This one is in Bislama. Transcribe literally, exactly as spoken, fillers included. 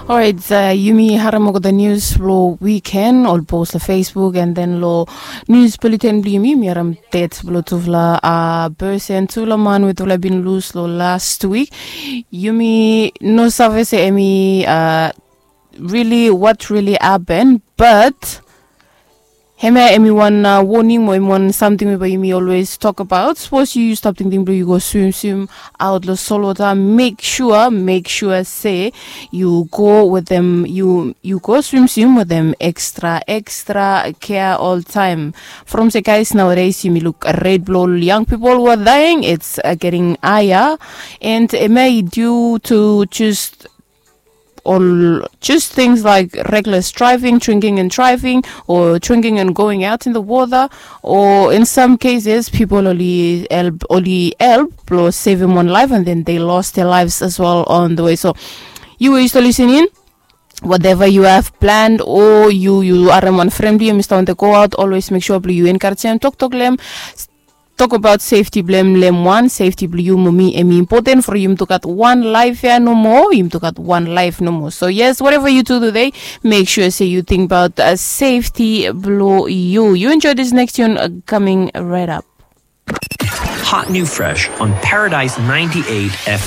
Orait, yumi harim olgeta nius blong wiken ol pos long Facebook and then long nius bulletin blong yumi, yumi harim det blong tufala person, tufala man we tufala bin lus long last wik. Yumi no save se emi really what really happen, but hemia emi wan woning mo emi wan samting we bae yumi olwes tok abaot. Sapos yu stap tingting blong yu go swim swim aot long solwota, mek sua mek sua se yu go wetem yu yu go swim swim wetem ekstra ekstra kea oltaem. From se guys, nowadays yumi luk ret blong ol young pipol we are dying, it's getting higher. And hemia i due to just ol just things like reckless driving, drinking and driving, or drinking and going out in the water, or in some cases pipol oli help oli help blong sevem wan laef and then they lost their lives as well on the way. So yu we yu stap lisin in, whatever you have planned, o yu yu harim wan fren blong yu em i stap wantem go aot, olwes mek sua blong yu enkarejem, toktok long em, tok abaot sefti blong em long em wan. Sefti blong yu mo mi em i impoten from yumi tu gat wan laef ya nomo, yumi tu gat wan laef nomo. So yes, whatever yu tu tude, mek sua se yu ting abaot sefti blong yu. Yu enjoe this next tune coming right up. Hot new fresh on Paradise ninety-eight F